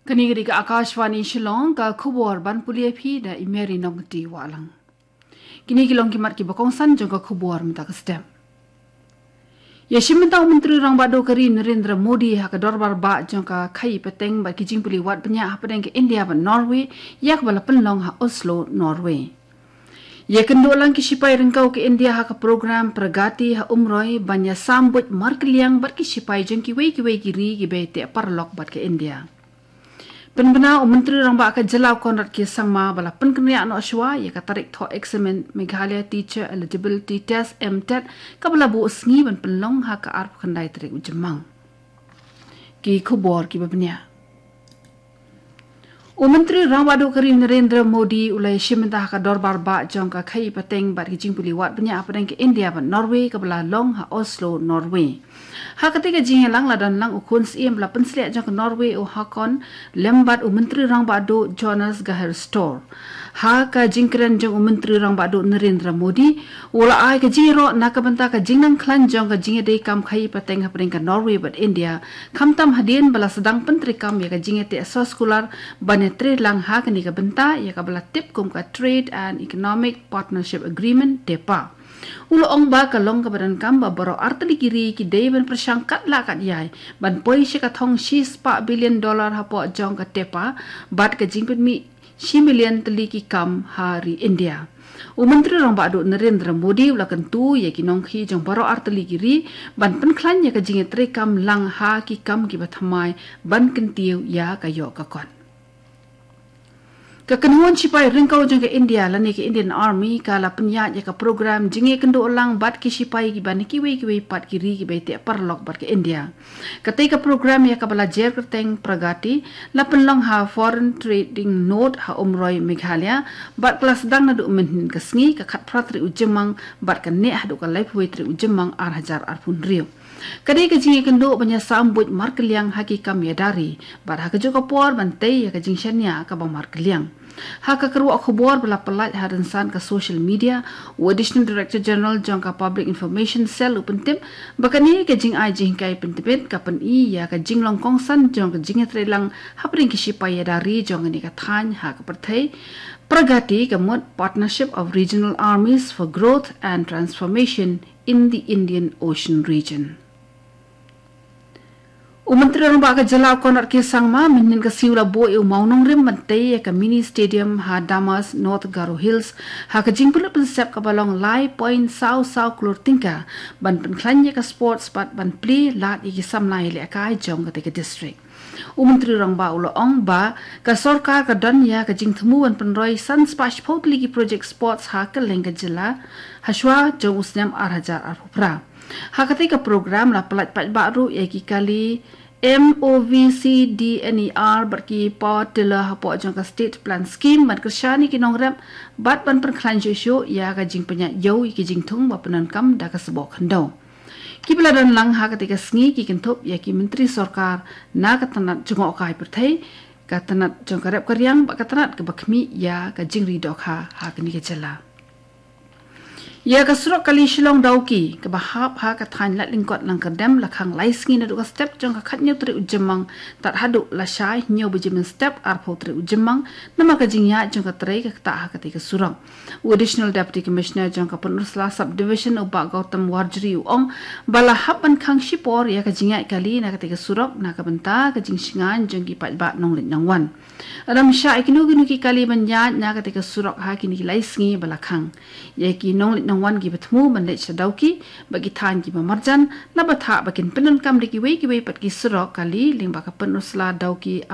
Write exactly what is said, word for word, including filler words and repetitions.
Kane ka dei ka Akashvani Shillong, ka khubor ban pule ïa phi da i Mary Nongkti Wahlang. Kine ki long ki mat kiba kongsan jong ka khubor mynta ka step. Ïashim bynta u Myntri Rangbah Duh ka ri Narendra Modi ha ka dorbar bah jong ka khaïi pateng bad ki jingpule wad bniah hapdeng ka India bad Norway, ïa kaba la pynlong ha Oslo, Norway. Ïakynduh lang ki shipai ryngkew ka India ha ka program Pragati ha Umroi ban ïasam buit markylliang bad ki shipai jong kiwei kiwei ki ri kiba ïateh paralok bad ka India. Pynbna u Myntri Rangbah ka jylla u Conrad K Sangma ba la pynkynriah noh shuwa ïa ka tarik thoh eksamin Meghalaya Teacher Eligibility Test, MTET, kaba la buh sngi ban pynlong ha ka arphew khyndai tarik u Jymmang. Ki khubor kiba bniah. U Myntri Rangbah Duh ka ri Narendra Modi u la ïashim bynta ha ka dorbar bah jong ka khaïi pateng bad ki jingpule wad bniah hapdeng ka India bad Norway kaba la long ha Oslo, Norway. Ha katei ka jingïalang la don lang u khun syiem ba la pynsleh jong ka Norway u Haakon lem bad u Myntri Rangbah Duh Jonas Gahr Store. Ha ka jingkren jong u Myntri Rangbah Duh Narendra Modi, u la ai ka jingïaroh na ka bynta ka jingnang khlaiñ jong ka jingïadei kam khaïi pateng hapdeng ka Norway bad India, khamtam hadien ba la sdang pyntreikam ïa ka jingïateh soskular ban ïatreilang ha kane ka bynta ïa kaba la tip kum ka Trade and Economic Partnership Agreement, TEPA. U la ong ba ka long kaba donkam ba baroh artylli ki ri ki dei ban pyrshang katba lah katba ïai ban poi sha ka thong shispah billion dollar hapoh jong ka TEPA bad ka jingpynmih shi million tylli ki kam ha ri India. U Myntri Rangbah Duh Narendra Modi u la kyntu ïa ki nongkhaïi jong baroh artylli ki ri ban pynkhlaiñ ïa ka jingïatreikam lang ha ki kam kiba thymmai ban kyntiew ïa ka ïoh ka kot. Ka kynhun shipai ryngkew jong ka India lane ka Indian Army ka la pynïaid ïa ka program jingïakynduh lang bad ki shipai kiba na kiwei kiwei pat ki ri kiba ïateh paralok bad ka India. Katei ka program ïa kaba la jer kyrteng Pragati la pynlong ha Foreign Trading Node ha Umroi, Meghalaya, bad ka la sdang naduh mynhynnin ka sngi, ka khatphra tarik u Jymmang bad ka neh haduh ka laiphew wei tarik u Jymmang ar hajar arphew hynriew. Ka dei ka jingïakynduh ban ïasam buit markylliang ha ki kam ïada ri bad ha kajuh ka por ban tei ïa ka jingshaniah kaba markylliang. Ha ka kyrwoh khubor ba la pyllait ha rynsan ka social media, u Additional Director General jong ka Public Information Cell u pyntip ba kane ka jingai jinghikai pyntbit ka pyni ïa ka jinglong kongsan jong ka jingïatreilang hapdeng ki shipai ïada ri jong kane ka thaiñ ha ka pyrthei. Pragati ka mut Partnership of Regional Armies for Growth and Transformation in the Indian Ocean Region. U Myntri Rangbah ka jylla u Conrad K Sangma mynhynnin ka sngi u la buh ïa u mawnongrim ban tei ïa ka mini stadium ha Damas, North Garo Hills, ha ka jingpynlut pynsep kaba long lai point saw saw klur tyngka ban pynkhlaiñ ïa ka sports bad ban plie lad ïa ki samla ïalehkai jong katei ka district. U Myntri Rangbah u la ong ba ka sorkar ka don ïa ka jingthmu ban pynroi san spah shiphew tylli ki project sports ha kylleng ka jylla ha shuwa jong u snem ar hajar arphew phra. Ha katei ka program la pyllait paidbah ruh ïa ki kali M O V C D N E R bad ki power tiller hapoh jong ka State Plan Scheme ban kyrshan ïa ki nongrep bad ban pynkhlaiñ shuh shuh ïa ka jingpynïaid ïew ïa ki jingthung ba pyndonkam da ka sboh khyndew. Kiba la don lang ha katei ka sngi ki kynthup ïa ki myntri sorkar na ka tnat jngohkai pyrthei, ka tnat jong ka rep ka riang bad ka tnat kaba khmih ïa ka jingri dohkha ha kane ka jylla. Ïa ka surok kali Shillong Dawki kaba hap ha ka thaiñ Laitlyngkot Langkyrdem la khang lai sngi naduh ka step jong ka khathynñiew tarik u Jymmang tad haduh lashai hynñiew baje mynstep arphew tarik u Jymmang namar ka jingïaid jong ka trei ka ktah ha katei ka surok. U Additional Deputy Commissioner jong ka Pynursla Subdivision u Bah Gautam Warjri u ong ba la hap ban khang shipor ïa ka jingïaid kali na katei ka surok na ka bynta ka jingshngaiñ jong ki paidbah nongleit nongwan. Ym shah ïa kino kino ki kali ban ïaid na katei ka surok ha kine ki lai sngi ba la khang. Ïa ki nongleit nongwan kiba thmu ban leit sha Dawki bad ki thaiñ kiba marjan la bthah ba kin pyndonkam da kiwei kiwei pat ki surok kali lyngba ka Pynursla Dawki